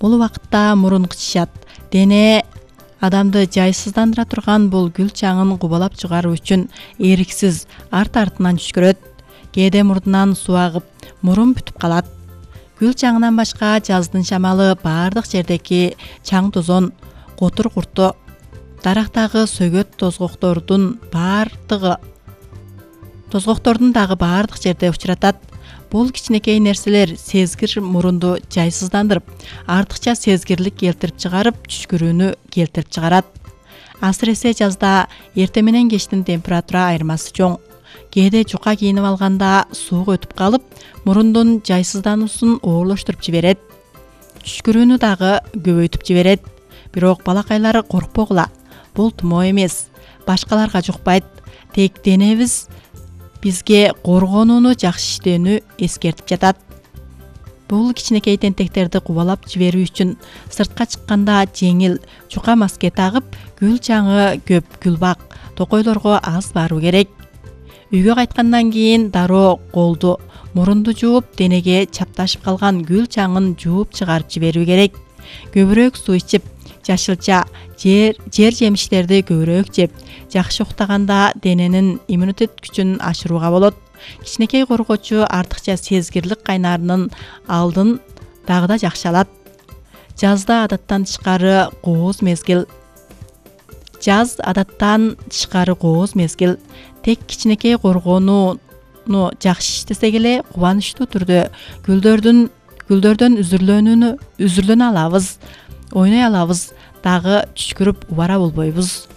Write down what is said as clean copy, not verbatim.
Бул убакытта мурун кычышат. Дене адамды жайсыздандыра турган бул гүл чаңын кубалап чыгаруу үчүн эриксиз арт-артынан жүчкүрөт. Кээде мурдунан суу агып, мурун бүтүп калат. Гүл чаңынан башка жаздын шамалы баардык жердеки чаң тозон, котур курту, дарактагы сөгөт тозгоктордун дагы баардык жерде учуратат. Бул кичинекей нерселер сезгир мурунду жайсыздандырып, артыкча сезгирлик келтирип чыгарып, түшкүрүүнү келтирип чыгарат. Асыресе жазда эртең менен кечтин температура айырмасы чоң. Кээде жука кийинип алганда суук өтүп калып, мурундун жайсыздануусун оорлоштуруп жиберет. Түшкүрүүнү дагы көбөйтүп жиберет. Бирок балакайлар коркпогула. Бул тумоо эмес. Башкаларга жукпайт. Тек денебиз бизге коргонууну жакшы иштөөнү эскертип жатат. Бул кичинекей тентектерди кубалап жиберүү үчүн сыртка чыкканда жеңил жука маска тагып, гүл чаңы көп гүлбак токойлорго аз баруу керек. Үйгө кайткандан кийин дароо колду, мурунду жууп, денеге чапташып калган гүл чаңын жууп чыгарып жиберүү керек. Көбүрөөк суу ичип, жашылча, жер жемиштерди көбүрөөк жеп, жакшы уктаганда дененин иммунитет күчүн ашырууга болот. Кичинекей коргоочу артыкча сезгирлик кайнаарынын алдын дагы да жакшы алат. Жазда адаттан тышкары кооз мезгил. Тек кичинекей коргонууну жакшы иштесек эле кубанычтуу түрдө гүлдөрдөн үзүрлөнө алабыз, ойной алабыз, дагы түшкүрүп убара болбойбуз.